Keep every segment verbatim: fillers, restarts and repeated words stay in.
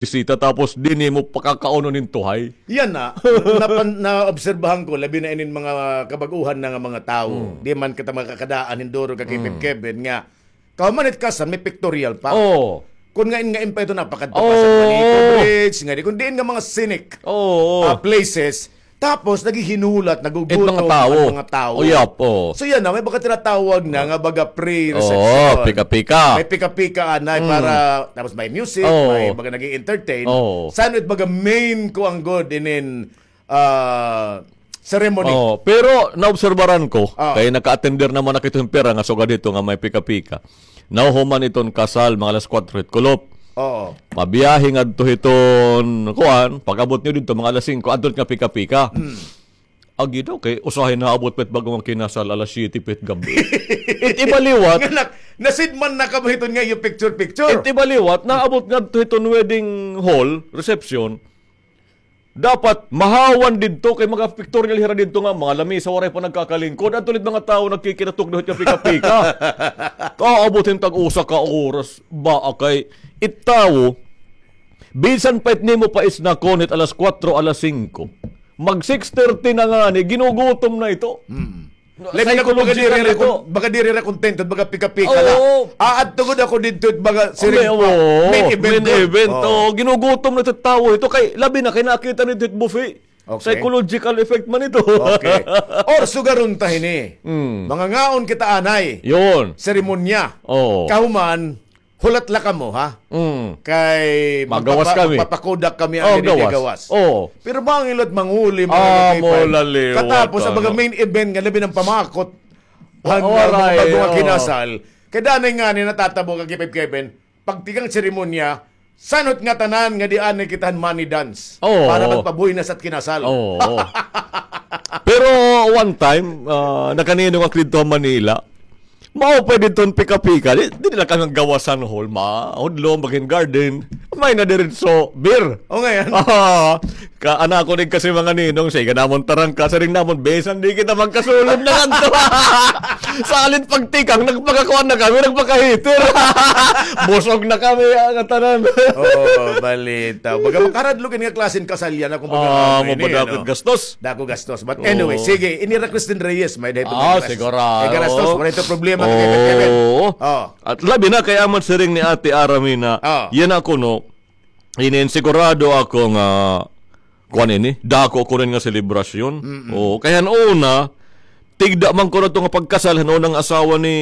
bisita, tapos di nimo pakakaunon hin tuhay. Yana, napan-, naobserbahan ko, labi na inin mga kabag-uhan na nga mga tawo. Mm. Di man kita makakadaan hin duro ka Kevin, Mm. Kevin, nga kahuman it kasal, may pictorial pa. Oo. Kun ngain-ngain pa ito, napakadto pa sa Oo. Balico Bridge, nga di, kun diin nga mga scenic, Oo. ah, places. Tapos, naghihinulat, nagugutom It mga tawo. An mga tawo. Uyap, oo. So, yana, may baga tinatawag na nga baga pre-reception. Oo, pika-pika. May pika-pika, anay, Mm. para, tapos may music, Oo. may baga nag-i-entertain. Oo. San it baga main ko an gud inin, ah, ceremony? Oo, pero naobserbaran ko, Ah. kay naka-attender naman na kita hin pira nga sugad hito nga may pika-pika. Nahuhuman iton kasal, mga alas kuwatro hit kulop. Oo. Mabiyahe ngadto hiton, kuan, pag-abot niyo didto, mga alas singko, adto nga pika-pika. Mm. Agi daw, kay usahay naabot pa it bag-o nga kinasal, alas siyete pa it gab-i. It iba liwat. Nga nak-, nasidman na kamo hiton nga iyo picture-picture. It iba liwat, naabot ngadto hiton wedding hall, reception. Dapat mahawan didto kay mga pictorial hira didto nga mga lamisa waray pa nagkakalingkod. Adto la it mga tawo nagkikinatukdo hit pika-pika. Kaabot hin tag-usa ka oras. Baa kay it tawo, bisan pa it nimo pa isnakon hit alas kuwatro, alas singko. Mag six thirty na ngani, ginugutom na ito. Mm. Labi na kun baga diri ra kon-, baga diri ra kontento, baga pika-pika la. Oo. Aadto gud ako didto, baga siring pa, oo, main event gud. Oo, ginugutom na ito tawo ito. Kay, labi na kay nakita na ito buffet. Okay. Psychological effect man ito. Okay. Or sugaron ta hini. Mm. Mangangaon kita anay. Yun. Seremonya. Oo. Kahuman, hulat la kamo, ha? Mm. Kay magpapa-, magpapakudak kami an diri gawas. Oo. Pero mangin la it manguli, mga kakipan. Katapos, an baga main event nga labi na an pamakot. An mga bag-o nga kinasal. Kay danay ngani natatabo, Kakipay Kevin, pagtikang seremonya, san-o it ngatanan nga di anay kita han money dance. Oo. Para magpabuhinas it kinasal. Oo. Pero one time, ah, nakaninong ako didto ha Manila. Mao pa didto an pika-pika. Di, di nila kami gawas han hall. Mahudlom, baga hin garden. May na diretso, beer. O, ngay-an. Ah, ka, anak ko din kasi mga ninong, siya, namon tarangka, siring namon, bisan di kita magkasulod na ngadto. Salit pagtikang, nagpakakuan na kami, nagpakaheater. Busog na kami, ah, ngatanan. Oo, balita. Baga makaradlog ini nga klase hin kasal yana, kung baga, ah, ano ini, mabadakot ano? Gastos. Dako gastos. But anyway, sige, ini ra Christine Reyes, may dahil. Ah, sigurado. Kay gastos, wala ito problema, Kevin, Kevin. Oo. Oh. At labi na kay amat siring ni Ate Arami na, ah, yana kuno, inin sigurado ako nga, kuan ini, dako kuno ini nga selebrasyon. Mm-mm. Oo, kay han una, tigda man kuno ito nga pagkasal, han unang asawa ni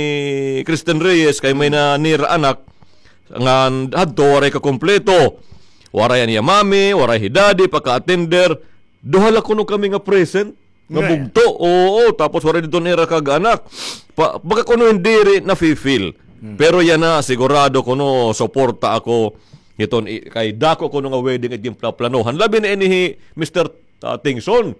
Christine Reyes, kay may na nira anak, ngan hadto waray kakumpleto. Waray an iya mami, waray hi daddy, paka-attender. Duha la kuno kami nga present. Nga bugto, oo, tapos waray didto an ira kag anak. Pa, baga kuno hin diri nafi-feel. Hmm. Pero yana, sigurado kuno, suporta ako hiton i-, kay dako kuno nga wedding it ginplaplanohan. Labi na ini hi Mister, ah, Tingson.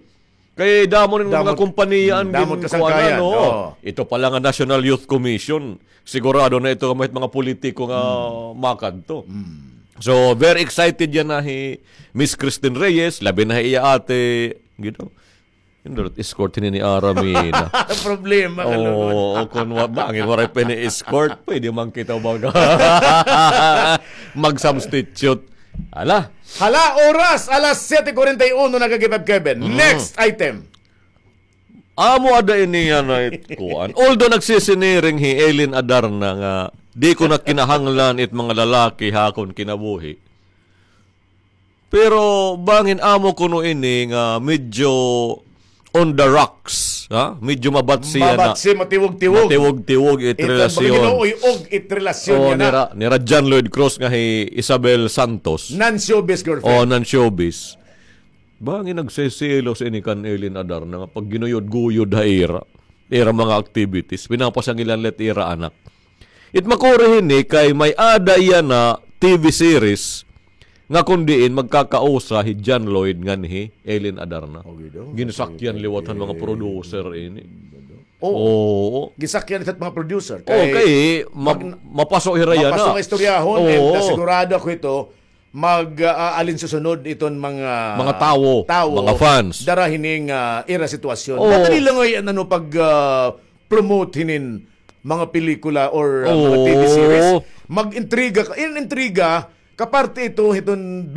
Kay damo rin mga kumpanya an ginkuanan, no? Oo. Ito pa la nga National Youth Commission. Sigurado na ito nga mga politiko nga makadto. Hmm. So, very excited yana hi Miss Christine Reyes, labi na hi iya ate, you know. Hindi, escort hini ni Aramina. Problema ka, Lord. Oo, kun wa-, bangin, waray pa ni escort, pwede man kita baga mag-substitute. Hala. Hala, oras, alas siyete kuwarenta y uno na, Kakipay Kevin. Mm. Next item. Amo ada ini yana it kuan. Although nagsisiniring hi Eileen Adarna nga, di ko na kinahanglan it mga lalaki ha akon kinabuhi. Pero bangin amo kuno ini nga medyo on the rocks, ha? Medyo mabatsi yana. Mabatsi, matiwog-tiwog. Matiwog-tiwog it relasyon. Ito, ginuuy-og it relasyon yana. Nira, nira John Lloyd Cruz nga hi Isabel Santos. Non-showbiz girlfriend. Oh, non-showbiz. Bangin nagseselos ini kan Eileen Adarna nga pagginuyod-guyod ha ira. Ira mga activities. Pinapasangilan la it ira anak. It makuri hini kay may-ada yana T V series nga kun diin magkakausa hi John Lloyd ngan hi Eileen Adarna. Okay daw. Ginsakyan liwat han mga producer ini. Oo. Ginsakyan liwat han mga producer. Oo, kay ma-, mapaso hira yana. Mapaso nga istoryahon, and, uh, sigurado ako ito, mag, ah, aalin susunod iton mga tawo, mga fans. Dara hining, ah, ira sitwasyon. Oo. Madali la ngay-an, ano, pag, ah, promote hinin mga pelikula or, ah, mga T V series. Oo. Mag-intriga ka. In intriga, Kaparte ito hiton